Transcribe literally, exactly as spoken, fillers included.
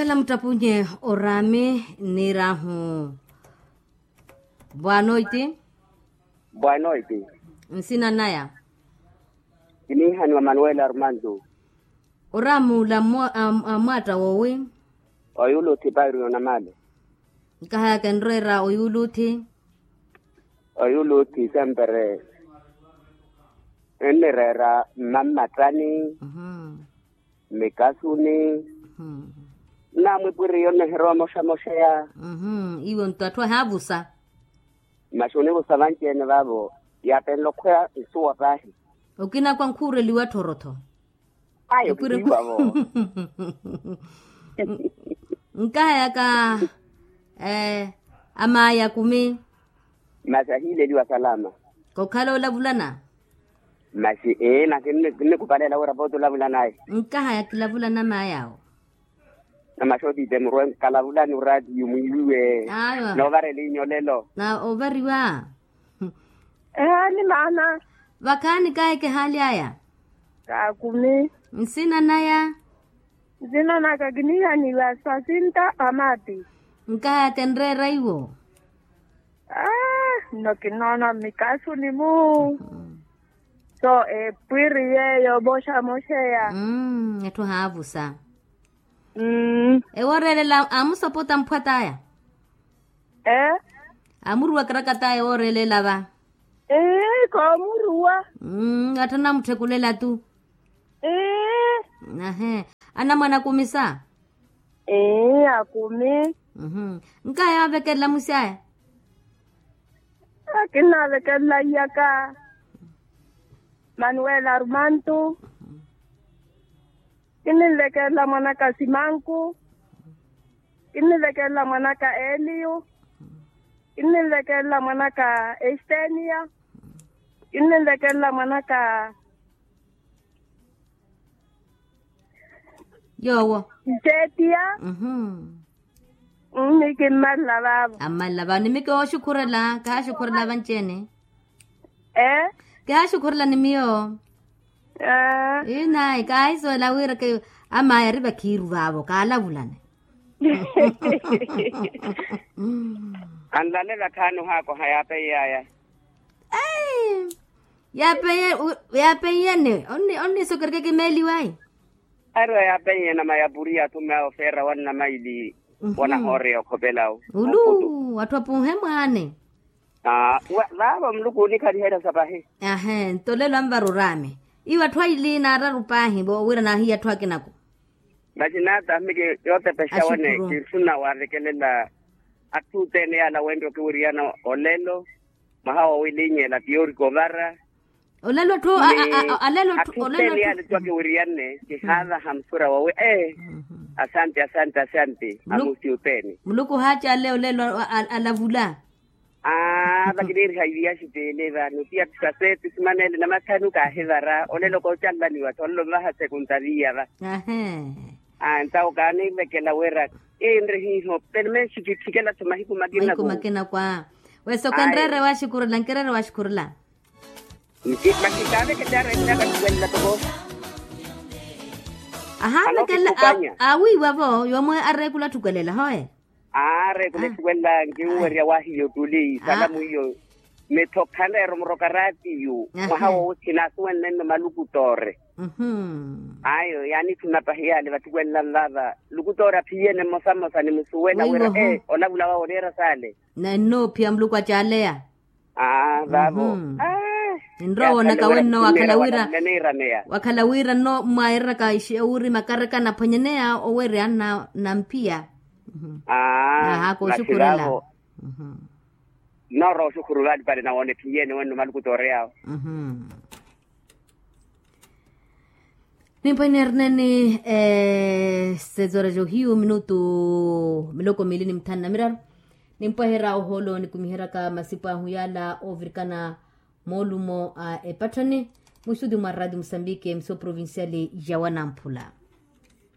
Namuttapunye oraami nniirahu. Bwaanoiti. Bwaanoiti. Nsina naya. Kiniihaniwa manuela armandu. Oraami ula amwaatta woowi? Oyuluthi pairi onamale. Nkahaya kenreera oyuluthi. Oyuluthi sempere ennireera mmammattani. Mikasuni. Nnaamwipwiriyo nnihirowa moxamoxeya. Iwo nto atthu ahaavusa. Masi onivusa vanci-ene vaavo. Yaapenle okhweya nsuwa paahi. Okinakwa nkhuureliwa tthorotho. Ayo kitiiwavo. Nkahayaka. Amaya kumi. Masi ahiileliwa salama. Kokhala olavulana. Masi ee na kinnikupaleela wira pooti olavulana ayi. Nkahaya kilavulana mayawo. Na masi otiite murwe nkalavulani oraatiyo mwiiwiwe. Noovarela inyolelo. Na ovariwa. Ehaani maana. Vakhaani kahi kihaaly'aya. Kaakumi. Nsina naya. Nsina naka kiniihaniwa sasinta amaati. Nkahaya kenreera iwo. Nno kinoona mmikasuni-mu. So epwiri yeeyo moxamoxeya. Etthu haavusa. Ewo ooreelela amusopota mphwat'aya. Amuruwa karakat'aya ewo ooreelela va. Koomuruwa. Atthu anamutthukulela tu. Ahe. Anamwana akumisa. Akumi. Nkaya yaavekelela musi aya. Kinnaavekelela iyaka. Manuela armantu. Kinninvekelela mwanaka simanku. Kinninvekelela mwanaka eliyu. Kinninvekelela mwanaka estenia. Kinninvekelela mwanaka yoowo. Nteetiya. Mmi kimmalala vaavo. Ammalala vaavo ni mi kihooxukhurela kihaaxukhurela vanci-ene. Kihaaxukhurela ni miyo. Inayi kaahisuwela wira amaya ari vakhiiru vaavo kaalavulane. Anlale vakhaani ohaakoha yaapeiye aya. Yaapeiye-ene onnisokereke kimeeliwayi. Ari oyaapeiye namaya puriya athume awo feera wannamaili. Wonahooreya okhopelawo ulu atthu apuuhe mwaane. Vaavo muluku onikhaliherya sapahi. Ahe nto lelo anvara oraame iwo atthu aili naararu paahi vo wira naahiya atthu akinako. Masi naata miki yootepexa wene kinsuna waavekelela atthu othene yaala wenre okiwiriyana olelo. Mwaha woowilinyeela tiyorika ovara. Olelo atthu alelo atthu othene yaala etthu akiwiriyanne kihaavaha musura woowi ee. Asante asante asante amusi othene. Muluku haacaale olelo alavula. Aa vakiniiriha iviyaxi teele vano ti atthu saseeti simaneele namathanu kaahivara olelo koocanlaniwa thololo mvaha sekunta viya va. Aa ntawo kaanivekela wira kinre hiiho pene menxi kitthikela-tho mahiku makina. Mahiku makina kwa. Wesa okanreere waaxikurela nkireere waaxikurela. Masi kaavekela areetela vatthuwelela toko. Ahaavekela. Awiiwa-vo yomwe areekula atthukelela hoe. Areekula etthuwelela nkinwerya wahiyo tuli salamu iyo. Mitho khanreera omuroka raatiyo mwaha woothina asuwenle nno malukutoore. Ayo yaanithuna pahi yaale vatthuwelela nvaava lukutoore aphiyene mmosa mmosa nimusuwela wira ee olavula wawe oneera saale. Nnoophiya muluku acaaleya. Aa vaavo. Ninrowa woonaka wenno wakhala wira wakhala wira nno mwaireraka ixewuri makareka naphwanyaneya owereya nnampiya. Aa kooxukhurela. Nnoorowa oxukhuru vaalipale nawoona ephiyene wenno maluku tooreyawo. Nimpwehe neerineni sezora johiyu minutu miloko miili ni mithanu na miraru. Nimpweherya ohoolo nikumiheryaka masipu ahu yaala oovirikana moolumo a epatthani. Muxuti mwa raati musambiki emisoo provinciali ya wanamphula.